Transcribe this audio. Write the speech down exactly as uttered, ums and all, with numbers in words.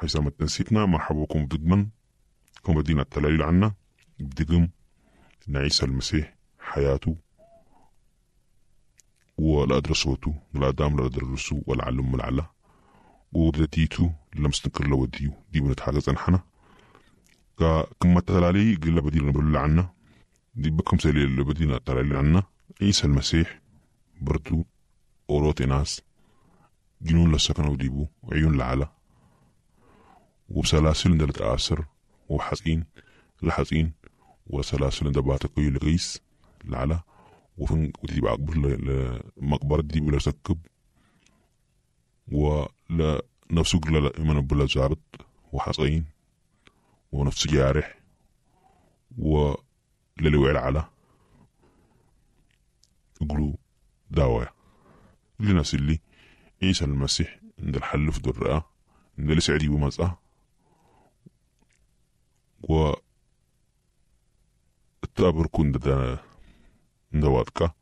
حيسام تنسيتنا مرحبا بكم بدقمن كم بدينا التلاليل عنا بدقم عيسى المسيح حياته ولا أدرسوتو لا دام لا أدرسو ولا علم العلا ودتيتو لمستنكر لوديو دي بنتحدث أنحنا كما تلالي قل بدينا نقول عنا دي بكم سليل اللي بدينا تلالي عنا عيسى المسيح برضو أوروت ناس جنون لسكنوا ديبو وعيون لعلا وبسلاسل اندلت آسر وحزين لحزين وسلاسل اندباتك لغيس لعلا وفن ودي بعقبر لمقبرة دي بلا سكب ولا نفسه قل من بلا زابط وحزين ونفس جارح وللوعل على قلو داوية لناس اللي عيسى المسيح عند الحل في درة عند لسعدي ومزأة و التابر كون دا دواتكا